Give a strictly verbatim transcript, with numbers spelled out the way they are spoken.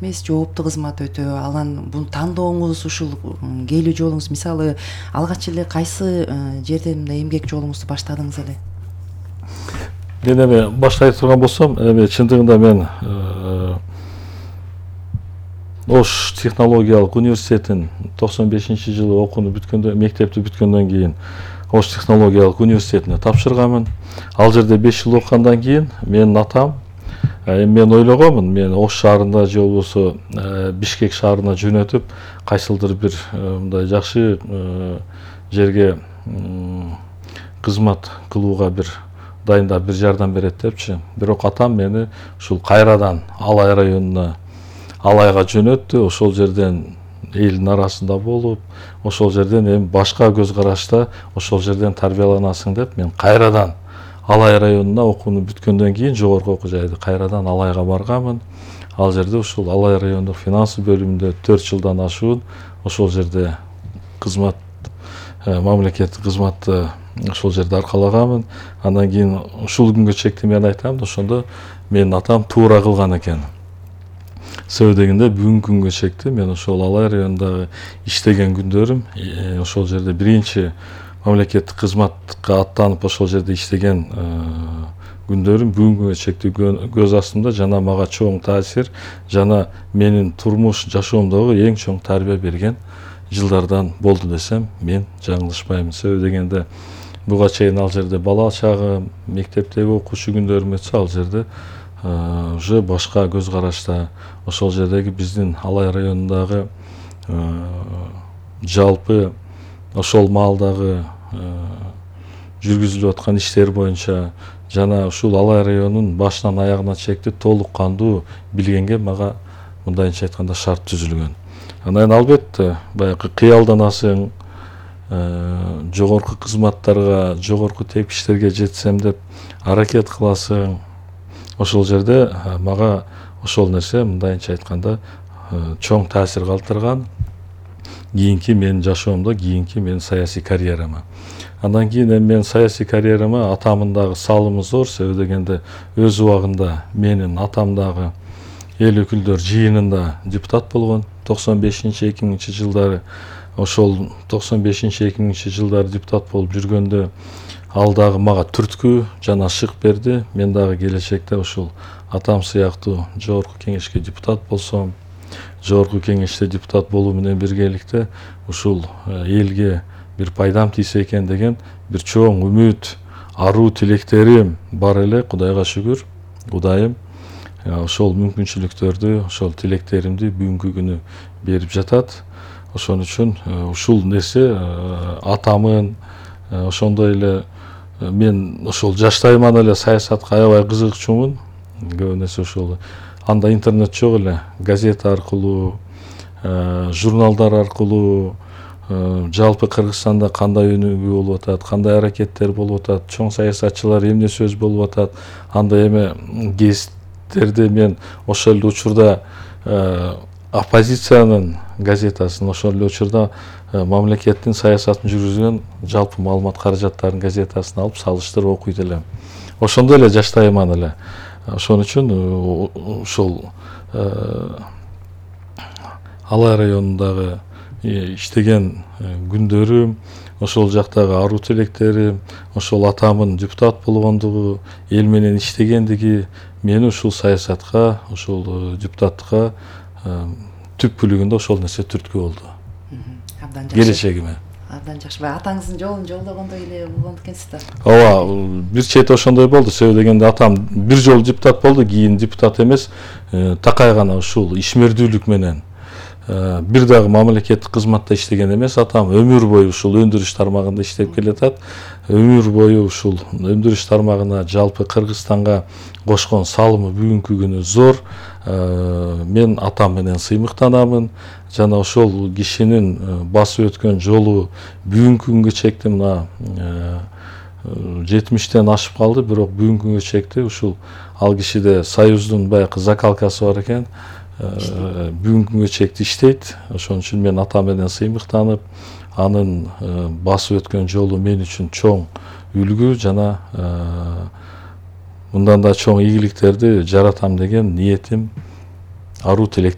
эмес, жооптуу кызмат өтө. Анан бул тандооңуз ушул келүү жолуңуз, мисалы алгач эле кайсы жерден мындай эмгек жолуңузду баштадыңыз эле? Мен эми баштай турган болсом, эми чындыгында мен Ош технологиялык университетин токсон бешинчи жылы окууну бүткөндө, мектепти бүткөндөн кийин Ош технологиялык университетине тапшырганмын. Ал жерде беш жыл окугандан кийин менин атам, мен ойлогонмун, мен Ош шаарында же болбосо Бишкек шаарына жөнөтүп, кайсылдыр бир мындай жакшы жерге кызмат кылууга бир дайындап бир жардам берет депчи. Бирок атам мени ушул кайрадан Алай районуна, Алайга жөнөттү. Ошол жерден элдин арасында болуп, ошол жерден эми башка көз карашта ошол жерден тарбияланасың деп мен кайрадан Алай районуна окууну бүткөндөн кийин жогорку окуу жайды кайрадан Алайга барганмын. Ал жерде ушул Алай райондук финансы бөлүмүндө төрт жылдан ашуун ошол жерде кызмат, мамлекеттик кызматты ошол жерде аркалаганмын. Андан кийин ушул күнгө чекти мен айтам да, ошондо менин атам туура кылган экен. Себеби дегенде бүгүнкү күнгө чекти мен ошол Алай районундагы иштеген күндөрүм, ошол жерде биринчи мамлекеттик кызматка аттанып ошол жерде иштеген күндөрүм бүгүнкү чекти көз астымда, жана мага чоң таасир, жана менин турмуш жашоомдогу эң чоң тарбия берген жылдардан болду десем мен жаңылышпаймын. Себеби дегенде буга чейин ал жерде бала чагым, мектептеги окуучу күндөрүм өтсө, ал жерде уже башка көз карашта ошол жердеги биздин Алай районундагы жалпы ошол маалдагы жүргүзүлүп аткан иштер боюнча жана ушул Алай районунун башынан аягына чекти толук кандуу билгенге мага мындайынча айтканда шарт түзүлгөн. Анан албетте баягы кыялданасың, жогорку кызматтарга, жогорку тепкичтерге жетсем деп аракет кыласың. Ошол жерде мага ошол нерсе мындайынча айтканда чоң таасир калтырган кийинки менин жашоомдо, кийинки менин саясий карьерама. Андан кийин эми мен саясий карьерама атамдын дагы салымы зор. Себеби дегенде өз убагында менин атам дагы эл өкүлдөр жыйынында депутат болгон токсон бешинчи эки миңинчи жылдары. Ошол токсон бешинчи эки миңинчи жылдары депутат болуп жүргөндө ал дагы мага түрткү жана шык берди. Мен дагы келечекте ушул атам сыяктуу жогорку кеңешке депутат болсом, жогорку кеңеште депутат болуу менен биргеликте ушул элге бир пайдам тийсе экен деген бир чоң үмүт, аруу тилектерим бар эле. Кудайга шүгүр, Кудайым ошол мүмкүнчүлүктөрдү, ошол тилектеримди бүгүнкү күнү берип жатат. Ошон үчүн ушул нерсе атамын, ошондой эле мен ошол жаштайыман эле саясатка аябай кызыгчумун. Көбүнесе ошол анда интернет жок эле, газета аркылуу, журналдар аркылуу жалпы Кыргызстанда кандай өнүгүү болуп атат, кандай аракеттер болуп атат, чоң саясатчылар эмне сөз болуп атат, анда эми гезиттерди мен ошол эле учурда оппозициянын газетасын, ошол эле учурда мамлекеттин саясатын жүргүзгөн жалпы маалымат каражаттарынын газетасын алып салыштырып окуйт элем. Ошондой эле жаштайыман эле. Ошон үчүн ошол Алай районундагы иштеген күндөрүм, ошол жактагы аруу тилектерим, ошол атамын депутат болгондугу, эл менен иштегендиги мени ушул саясатка, ушул депутаттыкка түпкүлүгүндө ошол нерсе түрткү болду. Абдан жакшы. Келечегиме. Абдан жакшы. Атаңыздын жолун жолдогондой эле болгон экенсиз да. Ооба, бир чети ошондой болду. Себеби дегенде атам бир жолу депутат болду, кийин депутат эмес, такай гана ушул ишмердүүлүк менен бир дагы мамлекеттик кызматта иштеген эмес. Атам өмүр бою ушул өндүрүш тармагында иштеп келатат. Өмүр бою ушул өндүрүш тармагына жалпы Кыргызстанга кошкон салымы бүгүнкү күнү зор. Мен атам менен сыймыктанамын. Жана ошол кишинин басып өткөн жолу бүгүнкү күнгө чекти мына жетимиштен ашып калды, бирок бүгүнкү күнгө чекти ушул ал кишиде союздун баягы закалкасы бар экен. Бүгүнкү күнгө чекти иштейт. Ошон үчүн мен атам менен сыймыктанып, анын басып өткөн жолу мен үчүн чоң үлгү жана мындан да чоң ийгиликтерди жаратам деген ниетим, аруу тилек